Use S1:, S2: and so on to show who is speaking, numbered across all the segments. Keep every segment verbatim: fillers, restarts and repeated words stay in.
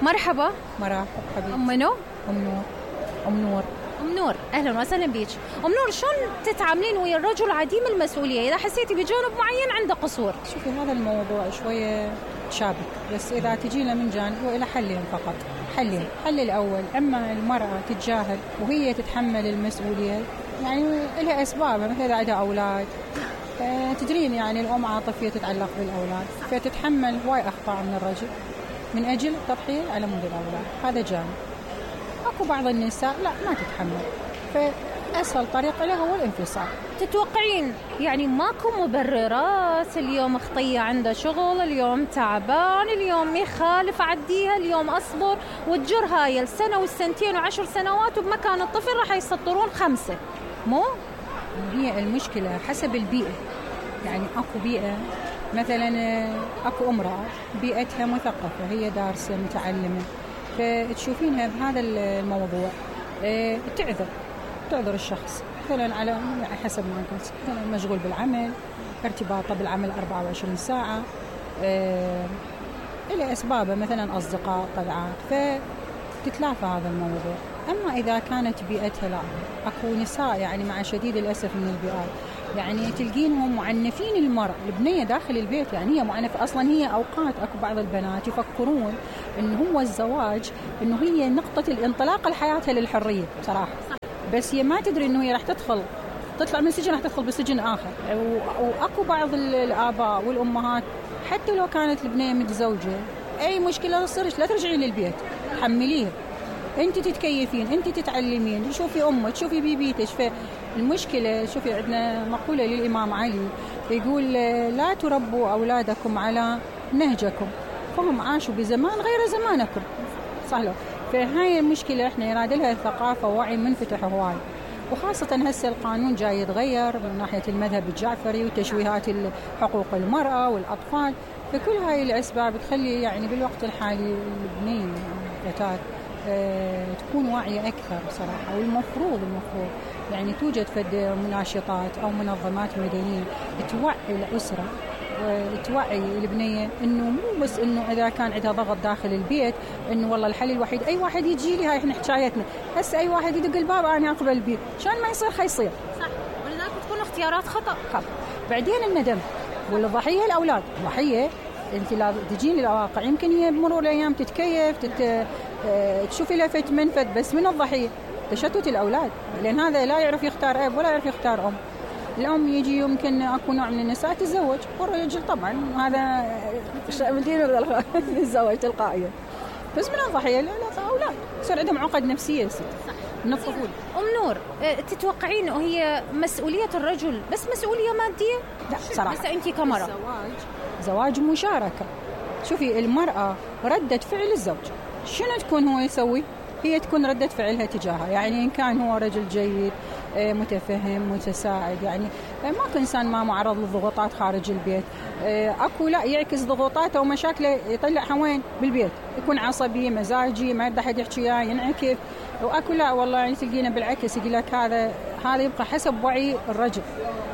S1: مرحبا.
S2: مرحبا حبيبتي.
S1: أم منو؟
S2: أم نور. أم نور.
S1: أم نور أهلا وسهلا بيك. أم نور، شلون تتعاملين ويا الرجل عديم المسؤولية إذا حسيتي بجانب معين عنده قصور؟
S2: شوفي هذا الموضوع شوية شابك، بس إذا تجينا من جانب هو إلى حلين فقط. حلين. الحل الأول، أما المرأة تتجاهل وهي تتحمل المسؤولية، يعني لها أسباب، مثل إذا عندها أولاد، تدرين يعني الأم عاطفية تتعلق بالأولاد، فتتحمل هواي أخطاء من الرجل من أجل تضحية على مود الأولاد. هذا جانب. أكو بعض النساء لا ما تتحمل، فأسهل طريقة له هو الانفصال.
S1: تتوقعين يعني ماكو مبررات؟ اليوم خطية عنده شغل، اليوم تعبان، اليوم يخالف عديها، اليوم أصبر وتجر هاي السنة والسنتين وعشر سنوات، وبمكان الطفل راح يسطرون خمسة. مو
S2: هي المشكلة حسب البيئة، يعني أكو بيئة مثلا أكو امرأة بيئتها مثقفة، هي دارسة متعلمة، فتشوفينها بهذا الموضوع اه تعذر تعذر الشخص مثلا على حسب ما قلت، مثلا مشغول بالعمل، ارتباطه بالعمل أربعة وعشرين ساعة، اه إلى أسبابه مثلا أصدقاء طلعات، فتتلافى هذا الموضوع. أما إذا كانت بيئتها لا، أكو نساء يعني مع شديد الأسف من البيئات يعني تلقينهم معنفين المرأة البنية داخل البيت، يعني هي معنفة أصلا. هي أوقات أكو بعض البنات يفكرون إنه هو الزواج إنه هي نقطة الانطلاق لحياتها للحرية بصراحة، بس هي ما تدري إنه هي راح تدخل تطلع من سجن راح تدخل بسجن آخر. وأكو بعض الآباء والأمهات حتى لو كانت البنية متزوجة، أي مشكلة تصيرش لا ترجعي للبيت، حمليه، انت تتكيفين، انت تتعلمين، تشوفي امك، تشوفي بيبيتش. فالمشكله شوفي عندنا مقوله للامام علي يقول لا تربوا اولادكم على نهجكم فهم عاشوا بزمان غير زمانكم. صح له. فهاي المشكله احنا يراد لها ثقافه ووعي منفتح هواي، وخاصه هسه القانون جاي يتغير من ناحيه المذهب الجعفري وتشويهات حقوق المراه والاطفال. فكل هاي الاسباب تخلي يعني بالوقت الحالي البنيه الفتاه أه تكون واعية أكثر بصراحة. والمفروض المفروض يعني توجد فد مناشطات أو منظمات مدنية توعي الأسرة وتوعي البنية إنه مو بس إنه إذا كان عندها ضغط داخل البيت إنه والله الحل الوحيد أي واحد يجي لي، هاي إحنا حكايتنا هسه أي واحد يدق الباب أنا أقبل البيت، شان ما يصير خيصير.
S1: صح، ولذلك تكون اختيارات خطأ.
S2: خطأ. بعدين الندم، والضحية الأولاد. ضحية أنت لا تجين للواقع، يمكن هي بمرور الأيام تتكيف تت... تشوفي لفت منفذ، بس من الضحية تشتت الأولاد، لأن هذا لا يعرف يختار أب ولا يعرف يختار أم. الأم يجي يمكن أكو نوع من النساء تتزوج، والرجل طبعا هذا الزواج تلقائيا، بس من الضحية الأولاد يصير عندهم عقد نفسية من الطفولة.
S1: أم نور، تتوقعين هي مسؤولية الرجل بس مسؤولية مادية؟
S2: لا صراحة.
S1: بس أنتي كمرأة
S2: الزواج زواج مشاركة. شوفي المرأة ردة فعل الزوج، شنو تكون هو يسوي؟ هي تكون ردة فعلها تجاهها، يعني إن كان هو رجل جيد متفهم متساعد، يعني ماكو إنسان ما معرض للضغوطات خارج البيت. أكو لا يعكس ضغوطاته ومشاكله يطلعها وين؟ بالبيت، يكون عصبي مزاجي ما يرضى حد يحكي وياه ينعكف. وأكو لا والله يعني تلقينا بالعكس يقول لك هذا هذا يبقى حسب وعي الرجل،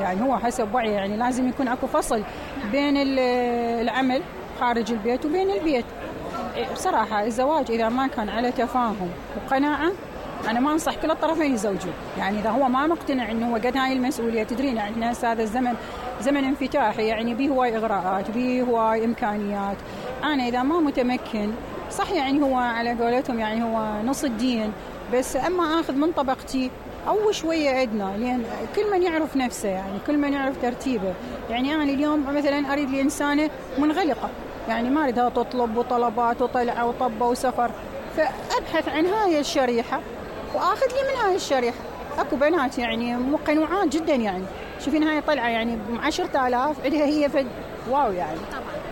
S2: يعني هو حسب وعي، يعني لازم يكون أكو فصل بين العمل خارج البيت وبين البيت. بصراحة الزواج إذا ما كان على تفاهم وقناعة أنا ما أنصح كل الطرفين يزوجون. يعني إذا هو ما مقتنع إنه هو قد هاي المسؤولية، تدرين يعني إحنا هذا الزمن زمن انفتاحي، يعني به هواي إغراءات به هواي إمكانيات. أنا إذا ما متمكن صح يعني هو على قولتهم يعني هو نص الدين، بس أما أخذ من طبقتي أو شوية أدنى، لأن كل من يعرف نفسه، يعني كل من يعرف ترتيبه. يعني أنا اليوم مثلا أريد لي إنسانة منغلقة، يعني ما أريدها تطلب وطلبات وطلعة وطبة وسفر، فأبحث عن هاي الشريحة وآخذ لي من هاي الشريحة. أكو بنات يعني مقنوعات جدا، يعني شوفين هاي طلعة يعني عشرة آلاف عندها هي فد واو يعني.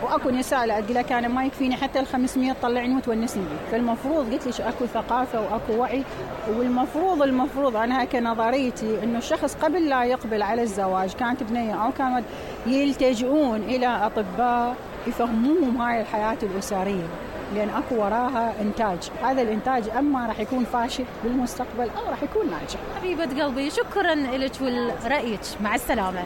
S2: وأكو نساء لا أقول لك أنا ما يكفيني حتى الخمسمية تطلعني وتونسني بي. فالمفروض قلت ليش أكو ثقافة وأكو وعي. والمفروض المفروض أنا هكا نظريتي إنه الشخص قبل لا يقبل على الزواج كانت بنية أو كانت يلتجؤون إلى أطباء يفهموهم هاي الحياة الأسرية، لأن أكو وراها إنتاج. هذا الإنتاج أما راح يكون فاشل بالمستقبل أو راح يكون ناجح.
S1: حبيبة قلبي شكرا لك ولرأيك، مع السلامة.